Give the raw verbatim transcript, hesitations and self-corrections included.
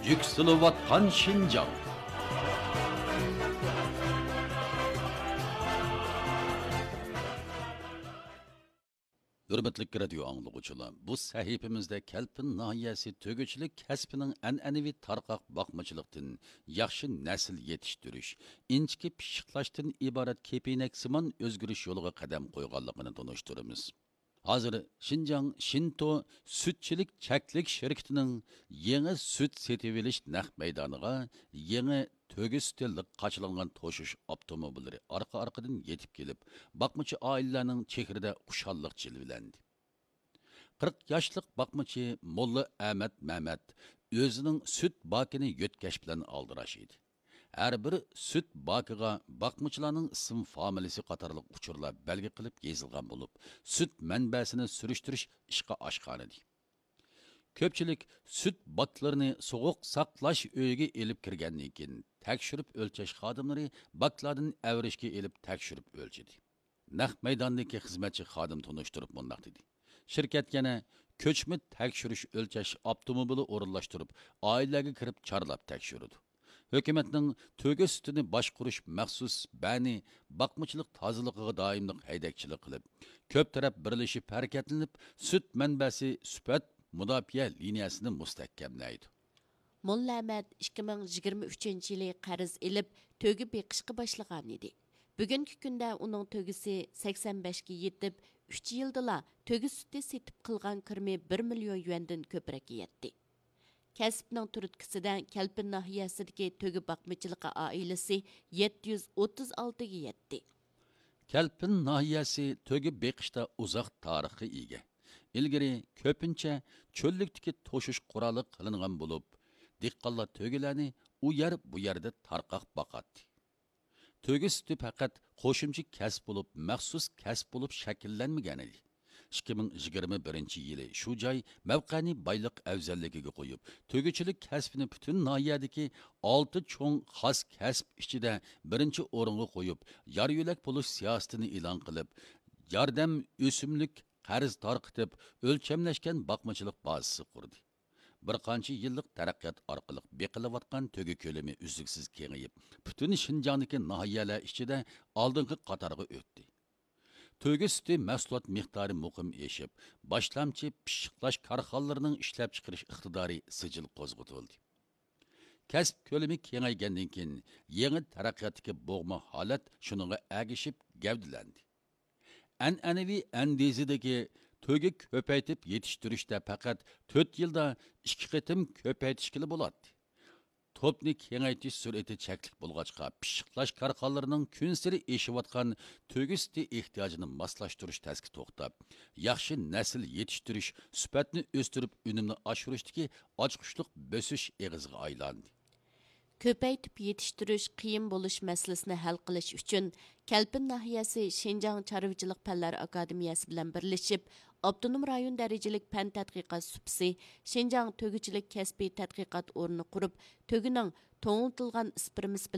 يۈكسىلىۋاتقان شىنجاڭ. ھۆرمەتلىك رادىيو ئاڭلىغۇچىلار، بۇ سەھىپىمىزدە كەلپىن ناھىيەسى تۆگىچىلىك كەسپىنىڭ ئەنئەنىۋى تارقاق باقمىچىلىقتىن ياخشى نەسىل يېتىشتۈرۈش، ئىنچىكە پىششىقلاشتىن ئىبارەت كېپىنەكسىمان ئۆزگىرىش يولىغا قەدەم قويغانلىقىنى تونۇشتۇرىمىز. ھازىر شىنجاڭ شىنتو سۈتچىلىك چەكلىك شىركىتىنىڭ يېڭى سۈت سېتىۋېلىش نەق مەيدانىغا يېڭى تۆگە سۈتى لىق قاچىلانغان توشۇش ئاپتوموبىللىرى ئارقا-ئارقىدىن يېتىپ كېلىپ، باقمىچى ئائىلىلەرنىڭ چېھرىدە خۇشاللىق جىلۋىلەندى. قىرىق ياشلىق باقمىچى موللا ئەمەت مەمەت ئۆزىنىڭ سۈت باكىنى يۆتكەش بىلەن ئالدىراش ئىدى. ھەر بىر سۈت باكىغا باقمىچىلارنىڭ ئىسىم فامىلىسى قاتارلىق ئۇچۇرلار بەلگە قىلىپ يېزىلغان بولۇپ، سۈت مەنبەسىنى سۈرۈشتۈرۈش ئىشقا ئاشقانىدى. كۆپچىلىك سۈت باكلىرىنى سوغۇق ساقلاش ئۆيىگە ئېلىپ كىرگەندىن كېيىن، تەكشۈرۈپ ئۆلچەش خادىملىرى باكلاردىن ئەۋرىشكە ئېلىپ تەكشۈرۈپ ئۆلچىدى. نەق مەيداندىكى خىزمەتچى خادىم تونۇشتۇرۇپ مۇنداق دېدى: شىركەت يەنە كۆچمە تەكشۈرۈش ئۆلچەش ئاپتوموبىلى ئورۇنلاشتۇرۇپ، ئائىلىلەرگە كىرىپ چارلاپ تەكشۈرىدۇ. ھۆكۈمەتنىڭ تۆگە سۈتىنى باشقۇرۇش مەخسۇس بەنى باقمىچىلىق تازىلىقىغا دائىملىق ھەيدەكچىلىك قىلىپ، كۆپ تەرەپ بىرلىشىپ ھەرىكەتلىنىپ، سۈت مەنبەسى سۈپەت مۇداپىئە لىنىيەسىنى مۇستەھكەملەيدۇ. موللا ئەمەت ئىككى مىڭ يىگىرمە ئۈچىنچى يىلى قەرز ئېلىپ، تۆگە بېقىشقا باشلىغانىدى. بۈگۈنكى كۈندە ئۇنىڭ تۆگىسى سەكسەن بەشكە يېتىپ، ئۈچ يىلدىلا تۆگە سۈتى سېتىپ قىلغان كىرىمى بىر مىليون يۈەندىن كۆپرەككە يەتتى. كەسىپنىڭ تۈرتكىسىدە كەلپىن ناھىيەسىدىكى تۆگە باقمىچىلىقى ئائىلىسى يەتتە يۈز ئوتتۇز ئالتىگە يەتتى. كەلپىن ناھىيەسى تۆگە بېقىشتا ئۇزاق تارىخقا ئىگە. ئىلگىرى كۆپىنچە چۆللۈكتىكى توشۇش قورالى قىلىنغان بولۇپ، دېھقانلار تۆگىلەرنى ئۇ يەر، بۇ يەردە تارقاق باقاتتى. تۆگە سۈتى پەقەت قوشۇمچە كەسىپ بولۇپ، مەخسۇس كەسىپ بولۇپ شەكىللەنمىگەن ئىدى. ئىككى مىڭ يىگىرمە بىرىنچى يىلى شۇ جاي مەۋقەنى بايلىق ئەۋزەللىكىگە قويۇپ، تۆگىچىلىك كەسپىنى پۈتۈن ناھىيەدىكى ئالتە چوڭ خاس كەسىپ ئىچىدە بىرىنچى ئورۇنغا قويۇپ، يار يۆلەك بولۇش سىياسىتىنى ئېلان قىلىپ، ياردەم ئۆسۈملۈك قەرز تارقىتىپ، ئۆلچەملەشكەن باقمىچىلىق بازىسى قۇردى. بىر قانچە يىللىق تەرەققىيات ئارقىلىق بېقىلىۋاتقان تۆگە كۆلىمى ئۈزلۈكسىز كېڭىيىپ، پۈتۈن شىنجاڭدىكى ناھىيەلەر ئىچىدە ئالدىنقى قاتارغا ئۆتتى. تۆگە سۈتى مەھسۇلات مىقدارى مۇقىم ئېشىپ، باشلامچى پىششىقلاش كارخانىلىرىنىڭ ئىشلەپچىقىرىش ئىقتىدارى سىجىل قوزغىتىلدى. كەسىپ كۆلىمى كېڭەيگەندىن كېيىن، يېڭى تەرەققىياتتىكى بوغما ھالەت شۇنىڭغا ئەگىشىپ گەۋدىلەندى. ئەنئەنىۋى ئەندىزىدىكى تۆگە كۆپەيتىپ يېتىشتۈرۈشتە پەقەت تۆت يىلدا ئىككى قېتىم كۆپەيتىشكىلا بولاتتى. توپنى كېڭەيتىش سۈرئىتى چەكلىك بولغاچقا، پىششىقلاش كارخانىلىرىنىڭ كۈنسېرى ئېشىۋاتقان تۆگە سۈتى ئېھتىياجىنى ماسلاشتۇرۇش تەسكە توختاپ، ياخشى نەسىل يېتىشتۈرۈش، سۈپەتنى ئۆستۈرۈپ، ئۈنۈمنى ئاشۇرۇشتىكى ئاچقۇچلۇق بۆسۈش ئېغىزىغا ئايلاندى. كۆپەيتىپ يېتىشتۈرۈش قىيىن بولۇش مەسىلىسىنى ھەل قىلىش ئۈچۈن، كەلپىن ناھىيەسى شىنجاڭ چارۋىچىلىق پەنلەر ئاكادېمىيەسى بىلەن بىرلىشىپ، ئاپتونوم رايون دەرىجىلىك پەن تەتقىقات سۇپىسى، شىنجاڭ تۆگىچىلىك كەسپىي تەتقىقات ئورنى قۇرۇپ، تۆگىنىڭ توڭلىتىلغان ئىسپېرمىسى